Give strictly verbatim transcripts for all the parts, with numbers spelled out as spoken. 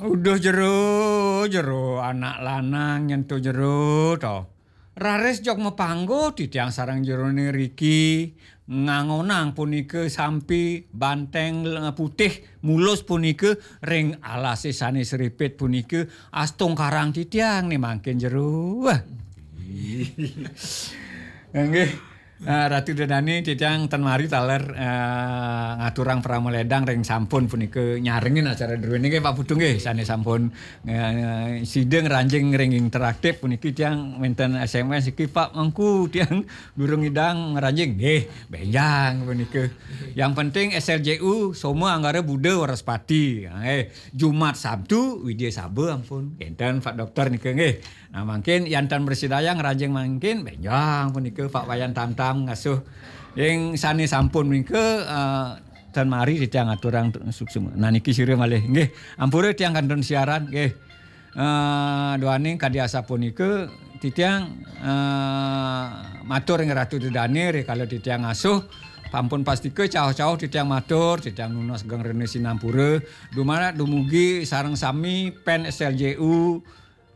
Uduh jero, jero anak lanang nyentuh jero to. Raris jok mapanggo titiang sareng jerone riki ngangonang punika sampi banteng putih mulus punika ring alase sane sripit punika astungkarang titiang ne mangkin jero. Wah. Nggih. Ah, Ratu Dedani titiang ten mari taler, eh, ngaturang parama ledang ring sampun punika nyarengin acara druene nggih Pak Putu nggih sane sampun, eh, sida ngranjing ring interaktif puniki tiang wenten S M S iki Pak Mangku tiang durung idang ngranjing nggih benjang punika. Yang penting S L J U Soma Anggara Buda Waraspati. Nggih, Jumat Sabtu Widya Saba ampun. Enten Pak Dokter nika nggih. Nah, mangkin yan tan mrasidayang ngranjing mangkin benjang punika Pak Wayan Tamtam ngasuh ing sane sampun menika, eh, tan mari titiang aturang suksma. Nah, niki sira malih nggih. Ampura tiang kantun siaran nggih. Eh, duaning kadi asapunika titiang, eh, matur ring Ratu Dedane rikala titiang ngasuh pampun pastika cauh-cauh titiang matur, titiang nunas geng rena sinampura. Dumadak dumugi sareng sami pen S L J U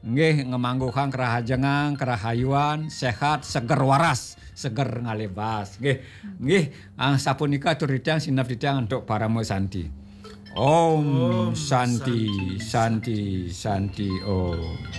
nggih ngamangguhang kerahajengan, kerahayuan, sehat, seger waras, seger ngalih bas. Nggih. Nggih, ah, sapunika atur titiang sinep titiang antuk parama santi. Om Om Santi, Santi, Santi, Santi, Om.